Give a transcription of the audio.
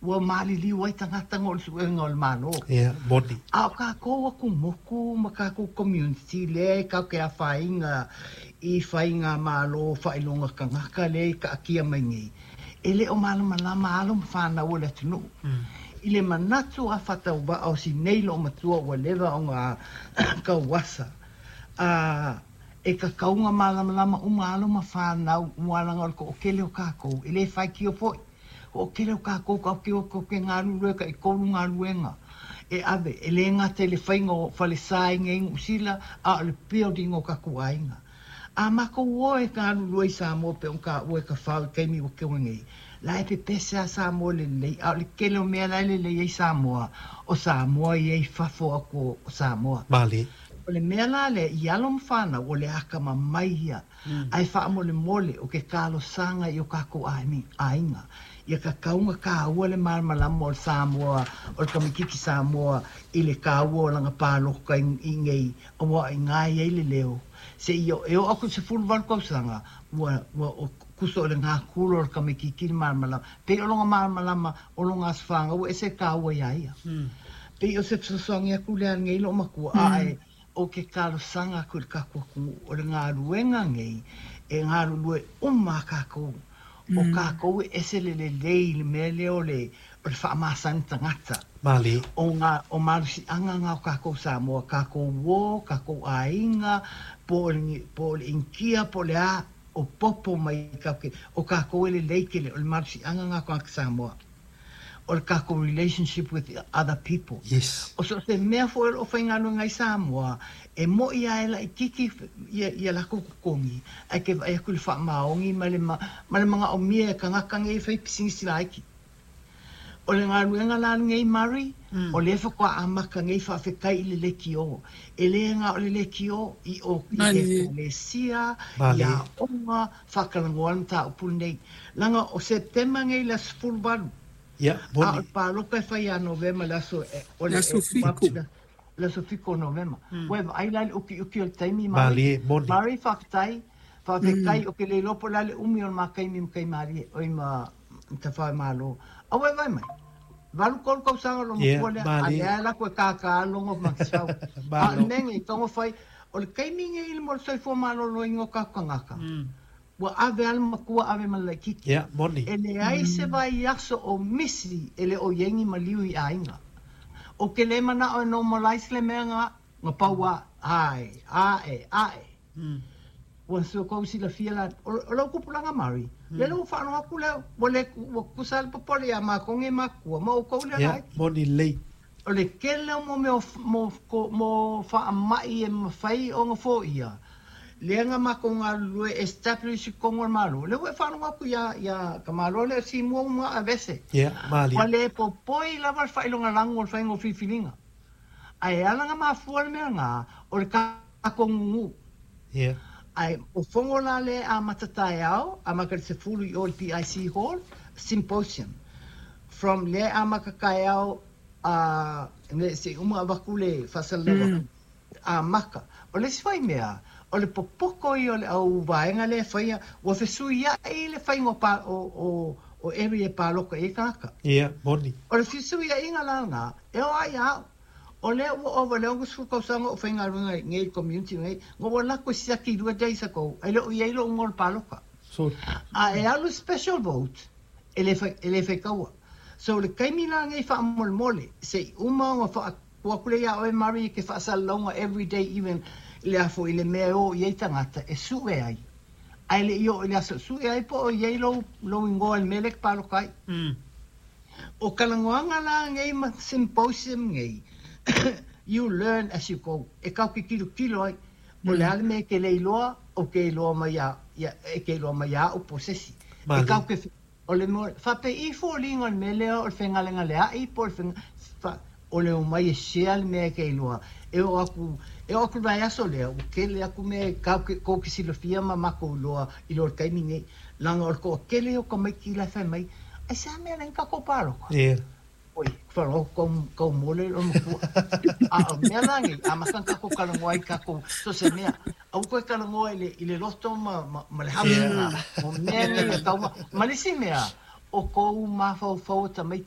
Ua maliliu ai tagata o le suega o le Malo. Ia, moni. A o kākou aku moku ma kākou community lea e kau ke afaina i faiga malo faailoga kanaka lea i kaatia mai nei, e le o malamalama alo ma whanau o le atunuu. I le manatu a whatauva o si nei lo matua ua leva o ngā kauasa. A e ka kaunga malamalama uma alo ma whanau ualanga o le ko o kele o kākou, e le whai kio foi. O kele o kākou ka o ke o ke ngā ka i kolu ngā luenga. E ave, e le ngata i le whainga o whale sai ngei ngusila a o le building o kaku ainga. A mako o e ka lua i Samoa pe ka ua ka whau keimi o ke nei. La e pe pese a Samoa le lei, a o le kele o mea lai le lei ai Samoa, o Samoa i ei fafo ako o Samoa. Mali. O le mea la le i alo mwhana o le aka ma mai ia, ai wha mole mole o ke kalo sanga i o kako ainga. Ia ka kaunga ka ua le malamalama o le Samoa, o le kamikiki Samoa, i le ka ua o langa pāloka i ngei, aua i ngai ai le leo. Se i o e o aku se fulu walu kausanga, ua o kuso o le ngā kula o le kamikiki le malamalama. Pe o longa malamalama o longa asfanga, ua ese ka ua ia ia. Pe o se fesoasoani aku le ngei lo makua, a e o ke kalosanga ku le kaku aku o le ngā luenga ngei, e ngā lue uma kākou. O kākou e ese le le lei le mea lea o le whaamasani tangata. Mali. O ngā, o malusi anga ngā o kākou Samoa, kākou wō, kākou āinga, po o le, po o le inkia, po o le a, o popo mai kauke, o kākou e le lei kele, o le malusi anga ngā o Samoa. O le kākou relationship with other people. Yes. O so se mea fo o whainga ngai Samoa, e mo ia e la i kiki ia, ia la kuku kongi, ai ke vai aku le wha maongi ma le, ma, ma le manga o mia e kangaka ngei whai pisingisi laiki. O le ngā luenga la ngei Mari, o le whakwa amaka ngei whawhekai i le lekio. E le ngā o le lekio i o i e le sia, i a onga, whakalangoa ta upul nei. Langa o September ngei la sefulu valu. Ia, A moni. o le pāloka e whai a Novema le aso e, o le Le aso fiku. Le aso fiku o Novema. Ua e ai la le uki uki o le taimi Mari. Mali, moni. Mari whakatai, whawhekai o ke le lopo la le umi o le makai mi makai mari o i ma ta whae malo. A ua e vai mai. Valu kolu kau sanga lo Yeah, makua lea, a mali. lea la koe kākā longo makisau. A Malo. le mea ngei tongo whai, o le kaimi ngei i le mo le soifua malolo ingo kakangaka. Ua ave ale makua ave ma le kiki. Ia, moni. E le ai se vai aso o misi e le o iengi ma liu i ainga. O ke le mana o normalize le mea ngā, ngā paua, ai, ae, ae. Ua so kou si la fia la, o lau kupulanga Mari. Le lau whaano aku leo, ua le, ua kusa le popole ia mā konge makua, ma o kou le Ia, lai. moni lei. O le kele o mo meo, mo, ko, mo whaamai e mawhai o ngā fō ia. Le nga mako ngā lue establish kongo malo. Le ua whaano aku ia, ia ka malo le si mua uma a vese. Ia, mali. Ua le popoi lava le whailonga langu o le whaingo whiwhilinga. Ai ala ngā mafua le mea ngā, o le kako ngungu. Ia. Ai, o whongo la le a matatai ao, a maka le sefulu i o le PIC Hall, symposium. From le a makakai ao, a, ne, se uma avaku le whasalawa. A maka. O le si whai mea, o le popoko i o le au vaenga le whaia, ua whesui ia i le whaingo pa, o eri e pāloka e kaka. Ia, moni. O le whesui ia inga la ngā, e o ai au. O le ua ova le ongo sfu kausanga o whainga runga ngei community ngei, ngā ua lako si aki 2 days ago, ai le o ia ilo ungo le pāloka. So, A e alu special vote, e le whai kaua. So le kaimi la ngei wha mole mole, se uma o wha kua kule ia oe Mari ke whaasalaunga every day even le afo i le mea o i ei tangata e sue ai. Ai le io i le aso sue ai po o i lo, lo ingoa le melek palokai. O kalangoanga la ngei ma symposium ngei, you learn as you go. E kau ke kilo kilo ai. O le ale me ke leiloa, o ke iloa mai ia, ia, e ke iloa mai ia o posesi. E Mali. kau ke, o le mo, whape i fo linga le melea o le whengalenga le ai, po le whenga, wha, o le o mai e share le mea ke iloa. E o aku, e o aku vai aso lea, o kele aku me kau ke, kou ke silafia ma mako iloa, i loa le kaimi nei. Langa o le ko kele o ka mai ki la whai mai, ai sa mea lenga kako pāloka. Ia. Oi, wharo, kau, kau mole o makua. A o mea langi, a makan kako kalangoa i kako, so se mea, au koe kalangoa i le loto ma le hamu. O mea nei e tauma, ma le si mea, o kou mawhau whau ta mai.